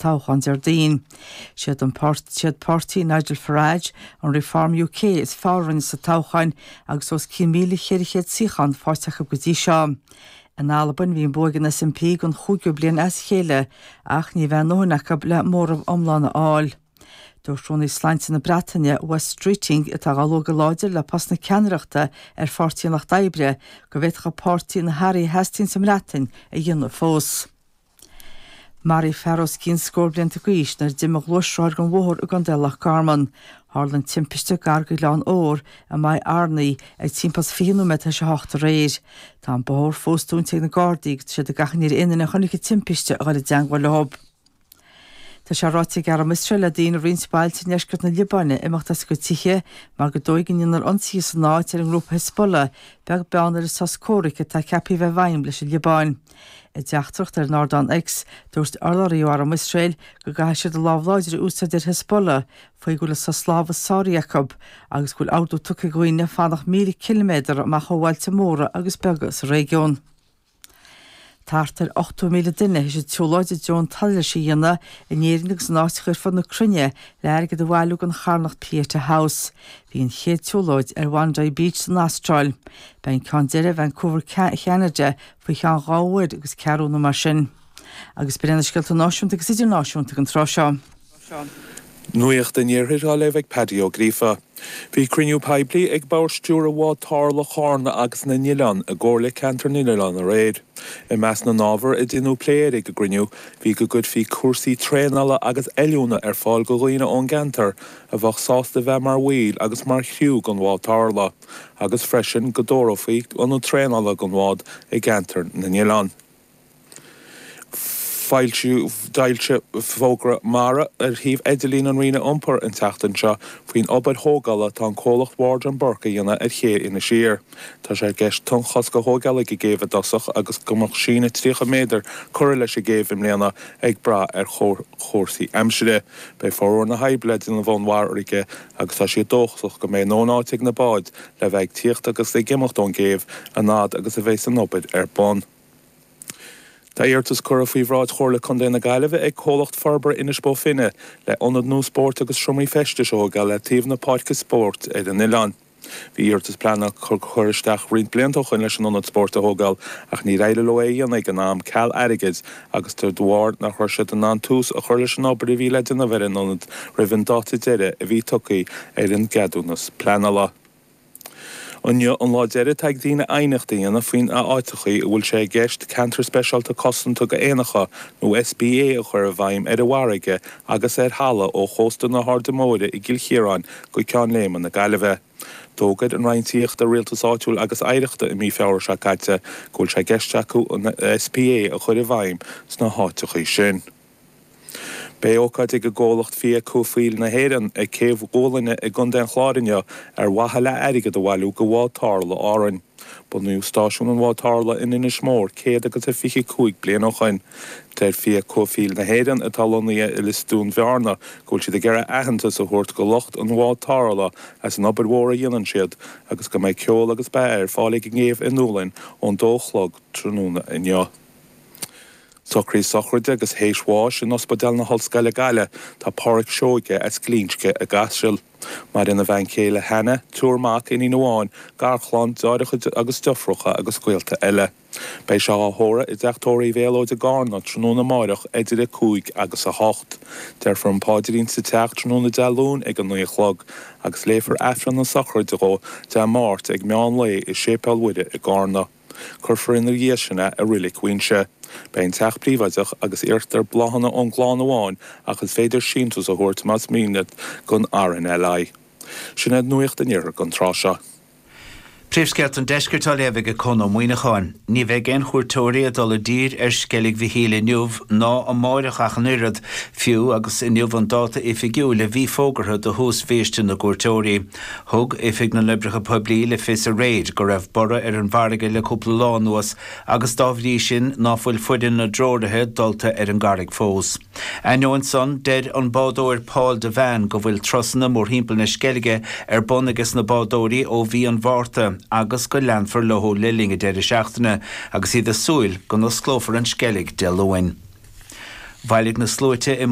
Toghchán Déardaoin. Siad an siad páirtí Nigel Farage, an Reform UK, is fearr a rinne sa toghchán agus os cionn 1,400 suíochán faighte acu go dtí seo. In Albain, bhí an bua ag an SNP don chúigiú bliain as a chéile ach ní bheidh a ndóthain acu le móramh iomlán a fháil. Dúirt Rúnaí Sláinte na Breataine, Wes Streeting, atá á lua go láidir le post na ceannaireachta ar Pháirtí an Lucht Oibre, go bhféadfadh a pháirtí na hathruithe a theastaíonn sa mBreatain a dhéanamh fós. Maraíodh fear os cionn scór blianta d'aois nuair a d'imigh a ghluaisrothar den bhóthar i gContae Loch Garman. Tharla an timpiste gar go Ghleann Óir i Maigh Airní ag timpeall is 20 nóiméad tar éis a hocht aréir. Tá an bóthar fós dúnta ag na Gardaí agus tá siad ag achainí ar aon duine a chonaic an timpiste a dhul i dteangmháil leo. Tá sé ráite ag arm Iosrael le daoine i roinnt bailte i ndeisceart na Liobáine imeacht as a gcuid tithe mar gur dóigh go ndéanfar ionsaithe san áit ar an ngrúpa Hezbollah, beag beann ar an sos comhraic atá ceaptha a bheith i bhfeidhm leis an Liobáin. I dteachtaireacht ar an ardán X, dúirt urlabhraí ó arm Iosrael go gcaithfidh siad a lámh láidir a úsáid ar Hezbollah faoi go bhfuil an sos lámhaigh sáraithe acu agus go bhfuil ordú tugtha ag dhaoine fanacht 1,000 ciliméadar amach ó bhailte móra agus beaga sa réigiún. Thart ar 80,000 duine théis an tsiúlóid i dtreo an tsolais a dhéanamh in Éirinn agus in áiteacha ar fud na cruinne le airgead a bhailiú don charthanacht Pieta House. Bhí an chéad tsiúlóid ar Bhondi Beach san Astráil. Beidh an ceann deiridh i Vancouver, Cheanada faoi cheann dhá uair agus ceathrú nó mar sin. Agus b'in iad na scéalta náisiúnta agus idirnáisiúnta don tráth seo. Nuacht an Iarthair á léamh ag Paddy Ó Gríofa. Bhí cruinniú poiblí ag Bord Stiúrtha Bhád Tarrthála Chárna agus na nOileán i gComhairle Ceantar na nOileán aréir. I measc na n-ábhar a deineadh plé air ag an gcruinniú bhí go gcuirfí cúrsaí traenála agus oiliúna ar fáil go dhaoine ón gceantar a bheadh sásta bheith mar bhaill agus mar chriú gon bhád tarrthála agus freisin go dtabharfaí ionad traenála gon bhád i gceantar na nOileán. Foilsíodh D'fhoilsigh Fógra Mara ar shuíomh idirlín an Roinne Iompair an tseachtain seo faoin obair thógála atá an comhlacht Ward and Burke a dhéanamh ar ché Inis Oírr. Tá sé i gceist tonnchosc a thóigeáil ag an gcéibh i dtosach agus go mbeadh síneadh 30 méadar curtha leis an gcéibh i mbliana ag brath ar chúrsaí aimsire. Beidh formhór na hoibre le déanamh ón bhfarraige agus tá siad dóchasach go mbeidh a ndóthain áite ag na báid le bheith ag tíocht agus ag imeacht ón gcéibh an fhad agus a bheas an obair ar bun. Tá iarratas curtha faoi bhráid Chomhairle Contae na Gaillimhe ag comhlacht forbartha Inis Bó Finne le ionad nua spóirt agus seomraí feistis a thógáil le taobh na páirce spóirt ar an oileán. Bhí iarratas pleanála curtha isteach roinnt blianta ó shoin leis an ionad spóirt a thógáil ach níor éirigh leo é a dhéanamh ag an am ceal airgid agus de bharr nach raibh siad in ann tús a chur leis an obair a bhí le déanamh ar an ionad roimh an dáta deiridh a bhí tugtha ar an gceadúnas pleanála. Inniu an lá deiridh atá ag daoine aighneacht a dhéanamh faoin áiteachaí a bhfuil sé i gceist Ceantar Speisialta Cosanta go Éanacha nó SPA a chur i bhfeidhm ar an bhfarraige agus ar thalamh ó chósta na hAirde Móire i gCill Chiaráin go Ceann Léime na Gaillimhe. D'fhógair an Roinn Tithíochta, Rialtais Áitiúil agus Oidhreachta i mí Feabhra seo caite go bhfuil sé i gceist acu an SPA a chur i bhfeidhm sna háiteachaí sin. Beidh ócáid ag an gcomhlacht Fia Cuaifeoil na hÉireann ag Céibh Ghualainne i gContae an Chláir inniu ar mhaithe le airgead a bhailiú go Bhád Tarrthála Árainn. Bunaíodh stáisiún an Bháid Tarrthála in Inis Mór 125 bliain ó shoin. Deir Fia Cuaifeoil na hÉireann, atá lonnaithe i Lios Dúin Bhearna, go bhfuil siad ag iarraidh aitheantas a thabhairt go lucht an bhád tarrthála as an obair mhór a dhéanann siad agus go mbeidh ceol agus beatha ar fáil ag an gcéibh i nDúlainn ón dó a chlog tráthnóna inniu. Socruithe sochraide agus théis bháis in Ospidéal na hOllscoile Gaillimh tá Páraic Seoige as Glinsce i gCaiseal. Maireann a bhean chéile Hannah, triúr mac, iníon amháin, garchlann, deartháireacha agus deirfiúracha agus gaolta eile. Beidh sé á thórramh i dTeach Tórraimh Mhéalóid i gCarna tráthnóna amáireach idir 5 agus 8. Déarfar an páidrín sa teach tráthnóna Dé Luain ag a 9 a chlog agus léifear Aifreann na sochraide dhó Dé Máirt ag meán lae i Séipéal Mhuire i gCarna. Cuirfear ina dhiaidh sin é i Reilig Mhuighinse. Beidh an teach príobháideach agus iarrtar bláthanna ón gclann amháin ach is féidir síntiús a thabhairt más mian leat don RNLI. Sin iad nuacht an Iarthair don tráth seo. Príomhscéalta an Deiscirt á léamh ag Conn Ó Muíneacháin. Ní bheidh aon chuairteoirí ag dul i dtír ar Sceilg Mhichíl inniu ná amáireach ach an oiread, fiú agus inniu an dáta oifigiúil a bhí fógartha do thús bhiaiste na gcuairteoirí. Thug Oifig na nOibreacha Poiblí le fios aréir go raibh borradh ar an bhfarraige le cúpla lá anuas agus dá bhrí sin ná fuil foireann na dtreoraithe dulta ar an gcarraig fós. Ainneoin san, deir an bádóir Paul Devane go bhfuil turasanna mórthimpeall na Sceilge ar bun aige na bádóirí ó mhí an Mhárta agus go leanfar leo le linn an deireadh seachtaine agus iad ag súil go n-osclófar an Sceilg Dé Luain. Bhailigh na sluaite i.